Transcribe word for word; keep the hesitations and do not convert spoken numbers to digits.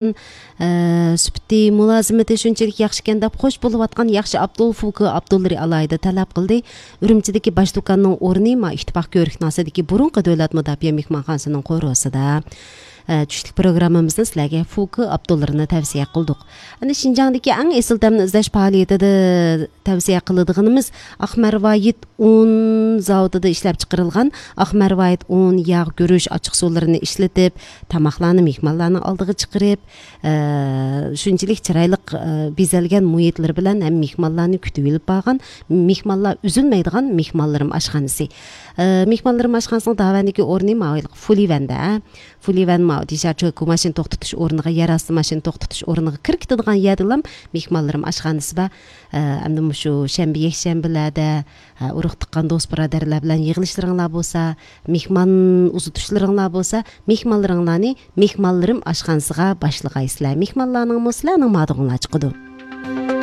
ئە، سۈپىتى، مۇلازىمىتى شۇنچىلىك ياخشىكەن دەپ خوش بولۇۋاتقان ياخشى ئابدۇل فۇكى ئابدۇللىرى ئالاھىدە تەلەپ قىلدى. ئۈرۈمچىدىكى باش دۇكاننىڭ ئورنى ما ئىتتىپاق كۆرۈكناسىدىكى بۇرۇنقى دۆلەت مۇداپىئە مېھمانخانىسىنىڭ قورۇسىدا. ئە، چۈشلۈك پروگراممىمىزدا سىلەرگە فۇكى ئابدۇللىرىنى تەۋسىيە قىلدۇق. ئەنە شىنجاڭدىكى ئەڭ ئېسىل تەمنى ئىزدەش پائالىيىتىدە تەۋسىيە قىلىدىغىنىمىز ئاق مەرۋايىت ئۇن زاۋۇتىدا ئىشلەپ چىقىرىلغان ئاق مەرۋايىت ئۇن، ياغ، گۈرۈچ، ئاچچىق سۇلىرىنى ئىشلىتىپ، تاماقلارنى مېھمانلارنىڭ ئالدىغا چىقىرىپ، ئە، شۇنچىلىك چىرايلىق، ئە، بېزەلگەن مۇھىتلىرى بىلەن ھەم مېھمانلارنى كۈتۈۋېلىپ بارغان، مېھمانلار ئۈزۈلمەيدىغان مېھمانلىرىم ئاشخانىسى. ئە، مېھمانلىرىم ئاشخانىسىنىڭ داۋەندىكى ئورنى ماۋۇ فۇلىۋەندە، ئە. فۇلىۋەن ماۋۇ دېشارچوكى ماشىنا توختىتىش ئورنىغا، يەر ئاستى ماشىنا توختىتىش ئورنىغا كىرىپ كېتىدىغان يەردىلا مېھمانلىرىم ئاشخانىسى بار. ئە، ئەمدى مۇشۇ شەنبە، يەكشەنبىلەردە، ئە، ئۇرۇق تۇغقان، دوست بۇرادەرلەر بىلەن يىغىلىشلىرىڭلار بولسا، مېھمان ئۇزىتىشلىرىڭلار بولسا، مېھمانلىرىڭلارنى مېھمانلىرىم ئاشخانىسىغا باشلىغايسىلەر. مېھمانلارنىڭمۇ سىلەرنىڭ مادىغۇڭلار چىقىدۇ.